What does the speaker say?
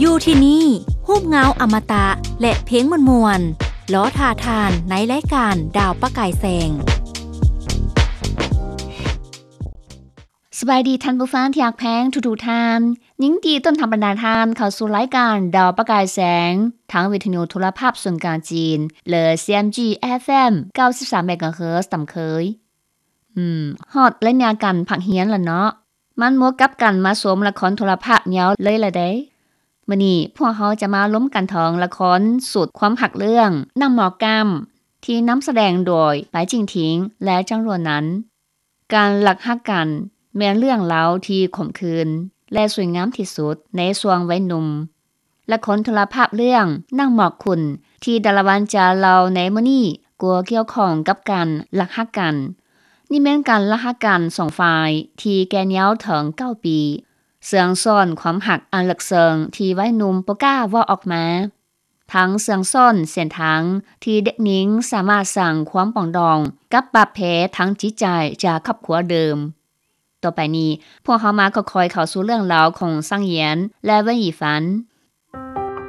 ຢູ່ທີ່ນີ້ ຮູບເງົາອະມະຕະ ແລະ ເພງມ່ວນໆ ລໍຖ້າທ່ານໃນລາຍການດາວປະກາຍແສງ. ສະບາຍດີທ່ານຜູ້ຟັງທີ່ຮັກແພງທຸກໆທ່ານ. ຍິນດີຕ້ອນຮັບບັນດາທ່ານເຂົ້າສູ່ລາຍການດາວປະກາຍແສງ ທາງວິທະຍຸໂທລະພາບສ່ວນກາງຈີນ ຫຼື CMG FM ເກົ້າສິບສາມເມກາເຮີດຕາມເຄີຍ. ອືມ ຮອດໄລຍະການພັກຮຽນລະເນາະ. ມັນໝົດກັບການມາຊົມລະຄອນໂທລະພາບຍາວເລີຍລະເດ້. ມື້ນີ້ພວກເຮົາຈະມາລົມກັນເຖິງລະຄອນສຸດຄວາມຮັກເລື່ອງ ນາງໝໍກ້ຳ ທີ່ນຳສະແດງໂດຍ ປາຍຈິງທິງ ແລະ ຈາງຫຼວນນັນ. ການລັກຮັກກັນແມ່ນເລື່ອງລາວທີ່ຂົມຂື່ນ ແລະ ສວຍງາມທີ່ສຸດໃນຊ່ວງໄວໜຸ່ມ. ລະຄອນໂທລະພາບເລື່ອງ ນາງໝອກຂຸ້ນ ທີ່ດາລາວັນຈະເລົ່າໃນມື້ນີ້ ກໍກ່ຽວຂ້ອງກັບການລັກຮັກກັນ. ນີ້ແມ່ນການລັກຮັກກັນສອງຝ່າຍທີ່ແກ່ຍາວເຖິງເກົ້າປີ, ເຊື່ອງຊ້ອນຄວາມຮັກອັນເລິກເຊິ່ງທີ່ໄວໜຸ່ມບໍ່ກ້າເວົ້າອອກມາ. ທັງເຊື່ອງຊ້ອນເສັ້ນທາງທີ່ເດັກຍິງສາມາດສ້າງຄວາມປອງດອງກັບບາດແຜທາງຈິດໃຈຈາກຄອບຄົວເດີມ. ຕໍ່ໄປນີ້ ພວກເຮົາມາຄ່ອຍໆເຂົ້າສູ່ເລື່ອງລາວຂອງຊາງຢຽນ ແລະ ເວີນອີຟານ